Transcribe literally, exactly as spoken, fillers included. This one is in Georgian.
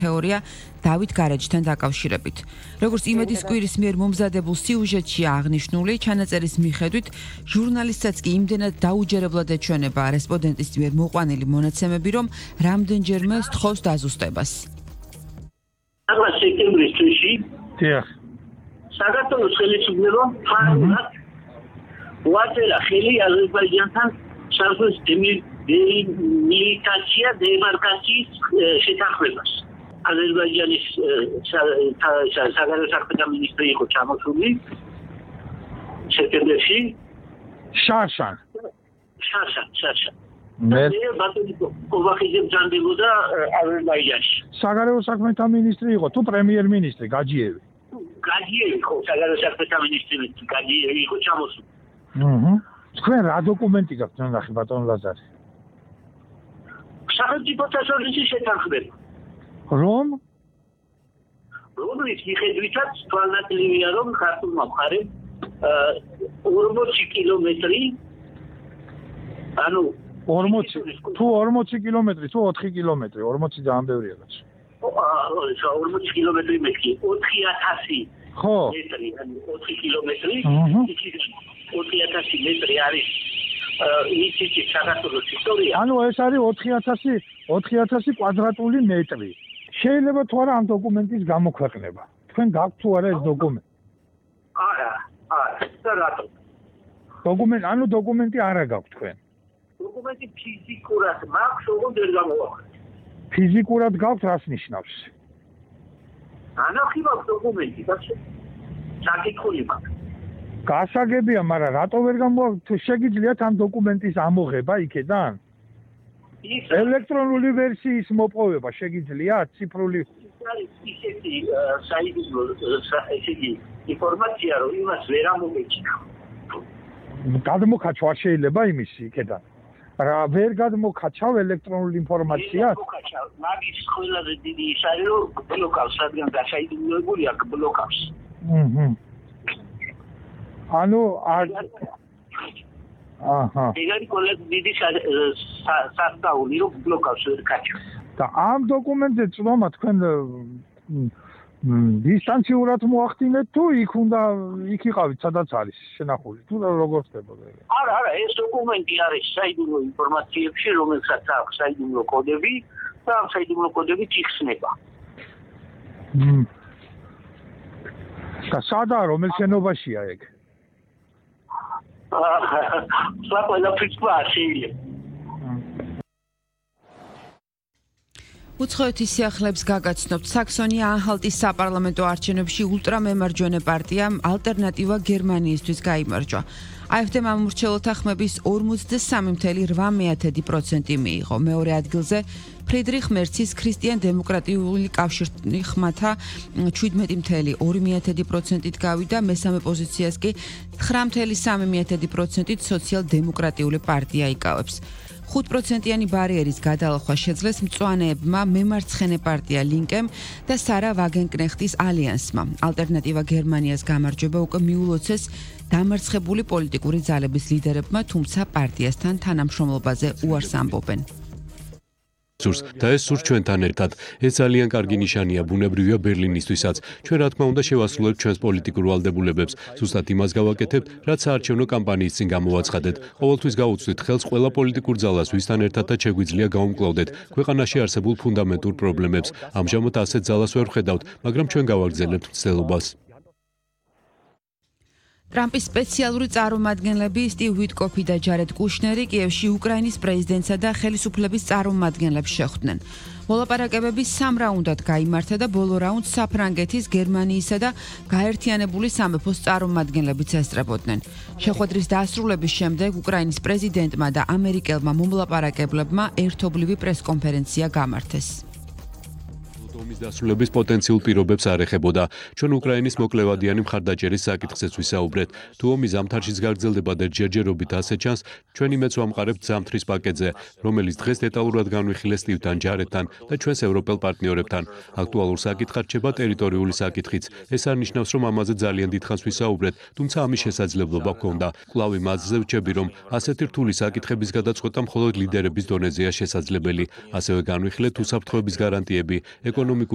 თეორია დავით გარეჯთან დაკავშირებით. Როგორც იმედის კვირის მიერ მომზადებულ სიუჟეტში აღნიშნული, ჩანაწერის მიხედვით, ჟურნალისტსაც კი იმდენად დაუჯერებლად ეჩვენება რესპონდენტის მიერ მოყვანილი მონაცემები, რომ რამდენჯერმე სთხოვს დაზუსტებას. ახლა სექტემბრის თვეში დიახ. საქართველოს ხელისუფლებამ ფარულად უაწერა ხელი აზერბაიჯანთან საზღვრის დემილიტაცია დემარკაციის შეთანხმებას. აზერბაიჯანის საგარეო საქმეთა მინისტრი იყო ჩამოსული სექტემბერში. შაშან. შაშან, შაშან. მე ბატონი კობახიძე ბრძანდებოდა აზერბაიჯანში. საგარეო საქმეთა მინისტრი იყო თუ პრემიერ-მინისტრი გაჯიევი? გაჯიევი იყო საგარეო საქმეთა მინისტრი, გაჯიევი იყო ჩამოსული. აჰა. თქვენ რა დოკუმენტი გაქვთ ნახე ბატონ ლაზარე? სახელმწიფოთა შორის შეთანხმება. რომ რომლის მიხედვითაც თვალნათლივია რომ ქართულმა მხარემ ორმოცი კილომეტრი ანუ ორმოცი თუ ორმოცი კილომეტრი თუ ოთხი კილომეტრი ორმოცი ძალიან ბევრია რაც აა ორმოცი კილომეტრი მეტი ოთხი ათასი ხო მეტრი ანუ ოთხი კილომეტრი ოთხი ათასი მეტრი არის ისეთი საქართველოს ისტორია ანუ ეს არის ოთხი ათასი ოთხი ათასი კვადრატული მეტრი შეიძლება თუ არა ამ დოკუმენტის გამოქვეყნება თქვენ გაქვთ თუ არა ეს დოკუმენტი არა არა და რატო დოკუმენტი ანუ დოკუმენტი არა გაქვთ თქვენ დოკუმენტი ფიზიკურად მაქვს ოღონდ ვერ გამოვაყენე ფიზიკურად გაქვთ რას ნიშნავს ანახი მაქვს დოკუმენტი ბაცი საკითხული მაქვს გასაგებია მაგრამ რატო ვერ გამოვაყენეთ შეგიძლიათ ამ დოკუმენტის ამოღება იქედან ელექტრონული ვერსიის მოპოვება შეგიძლიათ ციფრული ისეთი საიდუმლო ესეთი ინფორმაცია რომ იმას ვერ ამოგეჭიქა გადმოხაჩვა შეიძლება იმის იქედან რა ვერ გადმოხაჩავ ელექტრონული ინფორმაცია მაგის ყველაზე დიდი ის არის რომ ბლოკავს რადგან გასაიდუმლოებული აქვს ბლოკავს აჰა ანუ აჰა ეგარი კოლექტ დიდი სასწაული რომ ბლოკავს კაჩო და ამ დოკუმენტზე წვომა თქვენ დისტანციურად მოახდინეთ თუ იქ უნდა იქ იყავით სადაც არის შენახული თუ როგორ ხდებოდა ეგ არა არა ეს დოკუმენტი არის საიდუმლო ინფორმაციებში რომელსაც აქვს საიდუმლო კოდები და ამ საიდუმლო კოდებით იხსნება და სადაა რომელ შენობაშია ეგ სა ყველაფერს შეიძლება უცხოეთის სიახლეებს გაგაცნობთ საქსონია-ანჰალტის საპარლამენტო არჩევნებში ულტრამემარჯვენე პარტიამ ალტერნატივა გერმანიისთვის გაიმარჯვა. AfD-მა მომრჩეველთა ხმების ორმოცდასამი წუთი ოთხ პროცენტი მიიღო. მეორე ადგილზე ფრიდრიხ მერცის ქრისტიან-დემოკრატიული კავშირი ხმათა შვიდმეტი წუთი ორი პროცენტით გავიდა, მესამე პოზიციას კი ცხრა წუთი სამი პროცენტით სოციალ-დემოკრატიული პარტია იკავებს. ხუთ პროცენტიანი ბარიერის გადალახვა შეძლეს მწვანეებმა მემარცხენე პარტია ლინკემ და სარა ვაგენკნეხტის ალიანსმა. ალტერნატივა გერმანიას გამარჯვება უკვე მიულოცეს დამარცხებული პოლიტიკური ძალების ლიდერებმა, თუმცა პარტიასთან თანამშრომლობაზე უარს ამბობენ. და ეს სურს ჩვენთან ერთად. ეს ძალიან კარგი ნიშანია ბუნებრივია ბერლინისთვისაც. ჩვენ რა თქმა უნდა შევასრულებთ ჩვენს პოლიტიკურ ვალდებულებებს. ზუსტად იმას გავაკეთებთ, რაც საარჩევნო კამპანიის წინ გამოვაცხადეთ. ყოველთვის გავუწვით ხელს ყველა პოლიტიკურ ძალას, ვისთან ერთადაც შეგვიძლია გავუმკლავდეთ ქვეყანაში არსებულ ფუნდამენტურ პრობლემებს. ამჟამად ასეთ ძალას ვერ ვხედავთ, მაგრამ ჩვენ გავაგრძელებთ მცდელობას. ტრამპის სპეციალური წარმომადგენლები სტივ ვიტკოფი და ჯარედ კუშნერი კიევში უკრაინის პრეზიდენტსა და ხელისუფლების წარმომადგენლებს შეხვდნენ. მოლაპარაკებები სამ რაუნდად გაიმართა და ბოლო რაუნდს საფრანგეთის, გერმანიისა და გაერთიანებული სამეფოს წარმომადგენლებიც ესწრებოდნენ. შეხვედრის დასრულების შემდეგ უკრაინის პრეზიდენტმა და ამერიკელმა მომლაპარაკებლებმა ერთობლივი პრესკონფერენცია გამართეს. ომის დასრულების პოტენციურ პირობებს არ ეხებოდა. ჩვენ უკრაინის მოკლევადიანი მხარდაჭერის საკითხზეც ვისაუბრეთ. თუ ომი ზამთარშიც გაგრძელდება და ჯერჯერობით ასე ჩანს, ჩვენ იმედს ვამყარებთ ზამთრის პაკეტზე, რომელიც დღეს დეტალურად განვიხილეს სტივთან, ჯარედთან და ჩვენს ევროპელ პარტნიორებთან. აქტუალურ საკითხად რჩება ტერიტორიული საკითხიც. ეს არ ნიშნავს, რომ ამაზე ძალიან დიდხანს ვისაუბრეთ, თუმცა ამის შესაძლებლობა გვქონდა. კვლავ იმაზე ვრჩები, რომ ასეთი რთული საკითხების გადაწყვეტა მხოლოდ ლიდერების დონეზეა შესაძლებელი. ასევე განვიხილეთ უსაფრთხოების გარანტიები, ეკონომიკური